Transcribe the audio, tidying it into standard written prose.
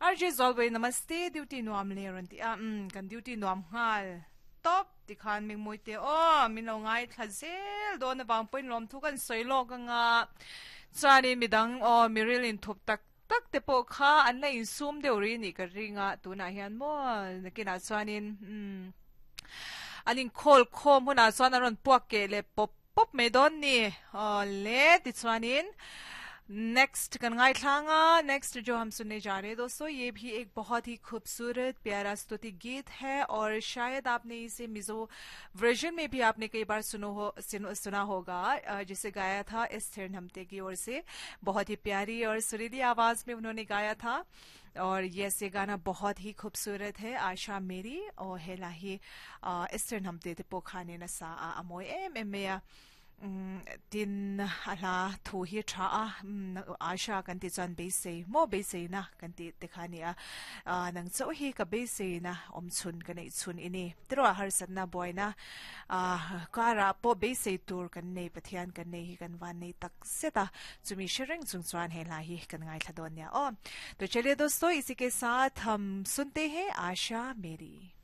RJ Zawlbei namaste duty nuam le rawn ti a umm kan duty nuam nghal tawp tikhan mingmui te aw min lo ngaithla zel dawn avang pawhin lawmthu kan sawi lawk anga chuanin midang aw miril inthup tak tak te pawh kha an la insum deuh rih nih ka ring a tunah hian maw nakinah chuanin umm an inkhawl khawm hunah chuan an rawn puak keh leh pawp pawp mai dawn ni aw le tichuanin next kan ngaithlang a next jo hum sunne ja rahe dosto ye bhi ek bahut hi khubsurat pyara stuti geet hai aur shayad aapne ise mizo version mein bhi aapne kai baar suno ho suna hoga jise gaya tha Esther Hnamte ki or se bahut hi pyari aur surili awaaz mein unhone gaya tha aur yes ye gana bahut hi khubsurat hai Asha Meri aw he hla hi Esther Hnamte te pawh khanin a sa a a mawi em em mai a tin a hla thu hi tha a Asha kan tih chuan beisei maw beiseina kan tih te kha a ni a nang chauh hi ka beiseina awm chhun ka neih chhun i ni tiraw harsatna buaina karah pawh beisei tur kan nei Pathian kan nei hi kan van nei tak zet a chumi hre reng chung chuan he hla hi kan ngaithla dawn nia aw to chaliye dosto isi ke saath hum sunte hain Asha Meri.